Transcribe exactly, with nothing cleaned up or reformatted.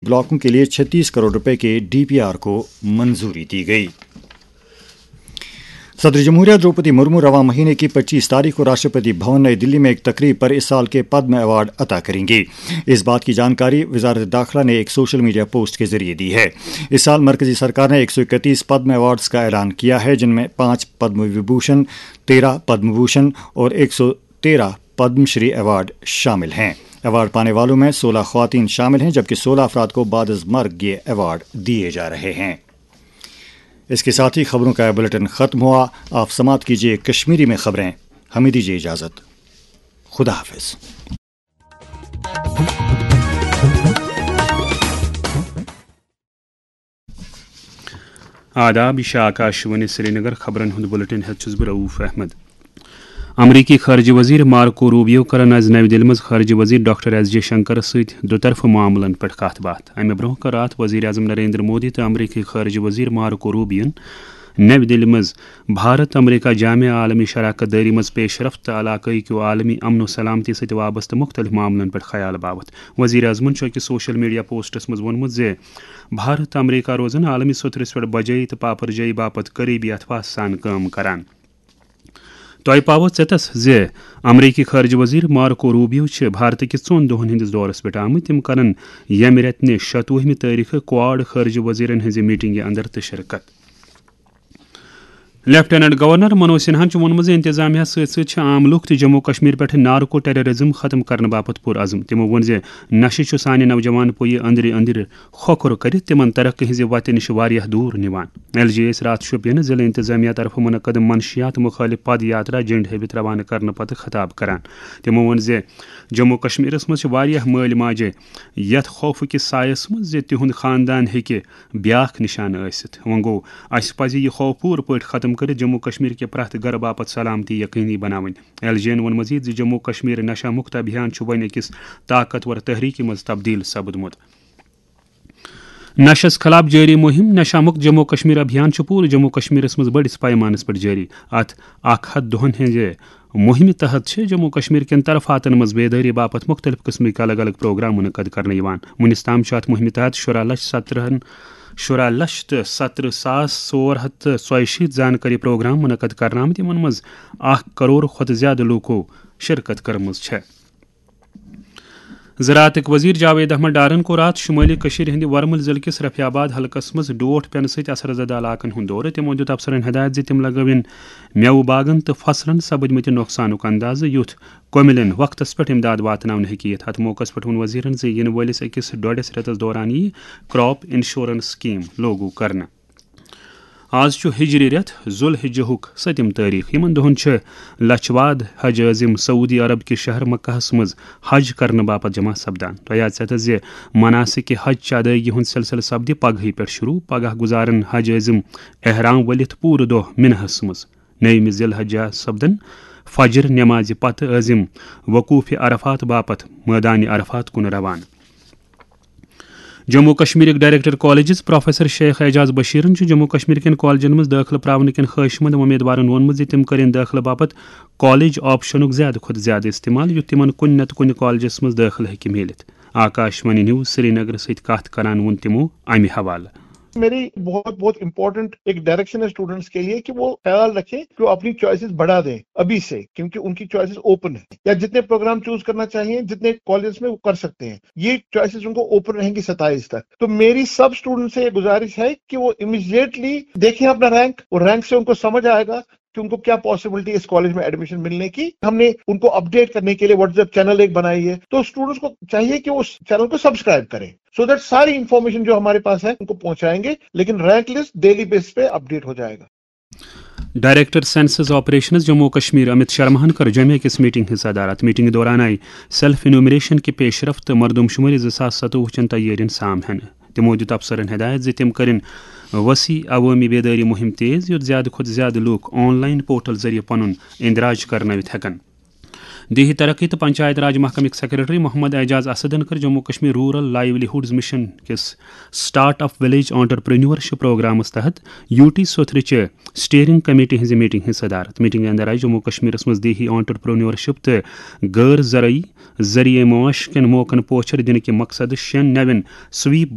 بلاکوں کے لیے چھتیس کروڑ روپے کے ڈی پی آر کو منظوری دی گئی۔ صدر جمہوریہ دروپدی مرمو رواں مہینے کی پچیس تاریخ کو راشٹرپتی بھون نئی دلی میں ایک تقریب پر اس سال کے پدم ایوارڈ عطا کریں گی۔ اس بات کی جانکاری وزارت داخلہ نے ایک سوشل میڈیا پوسٹ کے ذریعے دی ہے۔ اس سال مرکزی سرکار نے ایک سو اکتیس پدم ایوارڈز کا اعلان کیا ہے، جن میں پانچ پدم وبھوشن، تیرہ پدم بھوشن اور ایک سو تیرہ پدم شری ایوارڈ شامل ہیں۔ ایوارڈ پانے والوں میں سولہ خواتین شامل ہیں، جبکہ سولہ افراد کو بعد از مرگ یہ ایوارڈ دیے جا رہے ہیں۔ اس کے ساتھ ہی خبروں کا یہ بلیٹن ختم ہوا۔ آپ سماعت کیجیے کشمیری میں خبریں۔ ہمیں دیجیے اجازت۔ خدا حافظ۔ آداب، یہ چھِ آکاشوانی سرینگر۔ خبرن ہُنٛد بلیٹن ہیتھ چھُس بہٕ رؤف احمد۔ امریکی خارجہ وزیر مارکو روبیو کرن آز نَوِ دِلہِ منٛز خارجہ وزیر ڈاکٹر ایس جے شنکرس سۭتۍ دُطرفہٕ معاملن پٮ۪ٹھ کتھ باتھ۔ امہِ برونٛہہ کٔر راتھ وزیر اعظم نریندر مودی تہٕ امریکی خارجہ وزیر مارکو روبیون نَوِ دِلہِ منٛز بھارت امریکہ جامع عالمی شراکت دٲری منٛز پیش رفت تہٕ علاقٲیی کیو عالمی امن و سلامتی سۭتۍ وابستہٕ مُختٔلِف معاملن پٮ۪ٹھ خیال باوتھ۔ وزیر اعظمن چھُ أکِس سوشل میڈیا پوسٹس منٛز ووٚنمُت زِ بھارت امریکہ روزن عالمی سوٚتھرِس پٮ۪ٹھ بجٲیی تہٕ پاپرجٲیی باپتھ قریبی اتفاق سان کٲم کران۔ تۄہہِ پاوو ژیتس زِ امریکی خارجہ وزیر مارکو روبیو چھِ بھارتہٕ کِس ژۄن دۄہن ہٕنٛدِس دورس پٮ۪ٹھ آمٕتۍ۔ تِم کرن ییٚمہِ رٮ۪تہٕ نہِ شتوُہمہِ تٲریخہٕ کواڈ خارجہ وزیرن ہٕنٛزِ میٹنگہِ اندر تہِ شرکت۔ لیفٹیننٹ گورنر منوج سنہاہن چھُ ووٚنمُت زِ انتظامیہ سۭتۍ سۭتۍ چھِ عام لوٗکھ تہِ جموں کشمیر پٮ۪ٹھ نارکو ٹیررزم ختم کرنہٕ باپتھ پُرعزم۔ تِمو ووٚن زِ نشہٕ چھُ سانہِ نوجوان پُیہِ أنٛدرِ أنٛدرِ کھۄکھُر کٔرِتھ تِمن ترقی ہٕنٛزِ وتہِ نِش واریاہ دوٗر نِوان۔ ایل جے ٲسۍ راتھ شوپینہٕ ضلع انتظامیہ طرفہٕ منعقد منشیات مخالف پد یاترا جنڈ ہٲوِتھ روانہٕ کرنہٕ پتہٕ خطاب کران۔ تِمو ووٚن زِ جموں کشمیرس منٛز چھِ واریاہ مٲلۍ ماجہِ یتھ خوفہٕ کِس سایس منٛز زِ تِہُنٛد خاندان ہیٚکہِ بیاکھ نشانہٕ ٲسِتھ۔ وۄنۍ گوٚو، اسہِ پزِ یہِ خوف پوٗرٕ پٲٹھۍ ختم کٔرِتھ جموں کشمیر کہِ پرٛٮ۪تھ گرٕ باپتھ سلامتی یقینی بناوٕنۍ۔ ایل جے ین ووٚن مزید زِ جموں کشمیر نشہ مکت ابھیان چھُ وۄنۍ أکِس طاقتور تحریٖکہِ منٛز تبدیل سپدمُت۔ نشس خلاف جٲری مُہِم نشہ مُکت جموں کشمیر ابھیان چھُ پوٗرٕ جموں کشمیرس منٛز بٔڑِس پیمانس پٮ۪ٹھ جٲری۔ اتھ اکھ ہتھ دۄہن ہٕنٛزِ مُہِمہِ تحت چھِ جموں کشمیر کٮ۪ن طرفاتن منٛز بیدٲری باپتھ مُختٔلِف قٕسمٕکۍ الگ الگ پروگرام منعقد کرنہٕ یِوان۔ وُنِس تام چھُ اتھ مُہِمہِ تحت شُراہ لچھ سترٕہن، شُراہ لچھ تہٕ سترٕہ ساس ژور ہتھ تہٕ ژۄیہِ شیٖتھ زانکٲری پروگرام منعقد کرنہٕ آمٕتۍ، یِمن منٛز اکھ کرور کھۄتہٕ زیادٕ لوٗکو شرکت کٔرمٕژ چھےٚ۔ زراعتٕکۍ وزیر جاوید احمد ڈارن کوٚر راتھ شمٲلی کٔشیٖرِ ہٕنٛدِ ورمُل ضلعہٕ کِس رفیع آباد حلقس منٛز ڈوٹھ پٮ۪نہٕ سۭتۍ اثر زدٕ علاقن ہُنٛد دورٕ۔ تِمو دیُت افسرن ہدایت زِ تِم لگٲوِن مٮ۪وٕ باغن تہٕ فصلن سپٕدمٕتہِ نۄقصانُک اندازٕ، یُتھ کۄمِلٮ۪ن وقتس پٮ۪ٹھ امداد واتناونہٕ ہیٚکہِ یِتھ۔ اتھ موقعس پٮ۪ٹھ ووٚن وزیرن زِ یِنہٕ وٲلِس أکِس ڈۄڈس رٮ۪تس دوران یِیہِ کراپ انشورنس سکیٖم لاگو کرنہٕ۔ آز چھُ ہجری رٮ۪تھ ذوالحجہُک سٔتِم تٲریٖخ۔ یِمن دۄہن چھِ لچھ واد حج عٲزم سعودی عرب کہِ شہر مکہس منٛز حج کرنہٕ باپتھ جمع سپدان۔ تۄہہِ آسہِ ژےٚ زِ مناسک حج چہِ ادٲیگی ہُنٛد سلسلہٕ سپدِ پگہٕے پٮ۪ٹھ شروع۔ پگاہ گُزارن حج عٲزم احرام ؤلِتھ پوٗرٕ دۄہ مناہس منٛز۔ نٔیمہِ ذی الحجہ سپدن فجر نمازِ پتہٕ عٲزم وقوف عرفات باپتھ مٲدانِ عرفات کُن روانہٕ۔ جموں کشمیرٕکۍ director colleges professor Sheikh Ejaz بشیرن چھُ جموں کشمیر کٮ۪ن کالجن منٛز دٲخلہٕ پراونہٕ کٮ۪ن خٲہِش مند وۄمیدوارن ووٚنمُت زِ تِم کٔرِن دٲخلہٕ باپتھ کالج آپشنُک زیادٕ کھۄتہٕ زیادٕ استعمال، یُتھ تِمن کُنہِ نتہٕ کُنہِ کالجس منٛز دٲخلہٕ ہیٚکہِ میٖلِتھ۔ آکاشوانی نیوز سرینگرٕ سۭتۍ کتھ کران ووٚن تِمو امہِ حوالہٕ۔ میری بہت بہت امپورٹنٹ ایک ڈائریکشن ہے اسٹوڈنٹس کے لیے کہ وہ خیال رکھیں کہ وہ اپنی چوائسز بڑھا دیں ابھی سے، کیونکہ ان کی چوائسز اوپن ہے، یا جتنے پروگرام چوز کرنا چاہیے، جتنے کالجز میں وہ کر سکتے ہیں، یہ چوائسز ان کو اوپن رہیں گی ستائیس تک۔ تو میری سب اسٹوڈنٹ سے یہ گزارش ہے کہ وہ امیڈیٹلی دیکھیں اپنا رینک، اور رینک سے ان کو سمجھ آئے گا کہ ان کو کیا پاسبلٹی اس کالج میں ایڈمیشن ملنے کی۔ ہم نے ان کو اپڈیٹ کرنے کے لیے واٹس ایپ چینل ایک بنائی ہے، تو اسٹوڈنٹس کو چاہیے کہ وہ اس چینل کو سبسکرائب کریں، سو دیٹ ساری انفارمیشن جو ہمارے پاس ہے ان کو پہنچائیں گے، لیکن رینک لسٹ ڈیلی بیس پہ اپڈیٹ ہو جائے گا۔ ڈائریکٹر سینسس آپریشنز جموں و کشمیر امت شرماہن کٔر جمعہ کِس میٹنگ ہٕنٛز صدارت۔ میٹنگ دوران آیہِ سیلف انیومریشن کہِ پیش رفت تہٕ مردم شمٲری زٕ ساس ستوُہ چٮ۪ن تیٲرین سام ہٮ۪نہٕ۔ تِمو دیُت افسرن ہدایت زِ تِم کٔرِن وسیع عوٲمی بیدٲری مُہِم تیز، یُتھ زیادٕ کھۄتہٕ زیادٕ لوٗکھ آن لائن پورٹل ذٔریعہٕ پنُن اندراج کرنٲوِتھ ہٮ۪کن۔ دیہی ترقی تہٕ پنچایت راج محکمٕکۍ سیکرٹری محمد اعجاز اسدن کٔر جموں کشمیر رورل لائیولی ہُڈز مشن کِس سٹارٹ اپ ولیج آنٹرپرینیورشپ پروگرامس تحت یو ٹی سوتھرٕچہِ اسٹیئرنگ کمیٹی ہٕنٛزِ میٹنگ ہٕنٛز صدارت۔ میٹنگہِ اندر آیہِ جموں کشمیرس منٛز دیہی آنٹرپرینیورشپ تہٕ غٲر زرعی ذریعہ معاش کٮ۪ن موقعن پوچھر دِنہٕ کہِ مقصدٕ شٮ۪ن نوٮ۪ن سویپ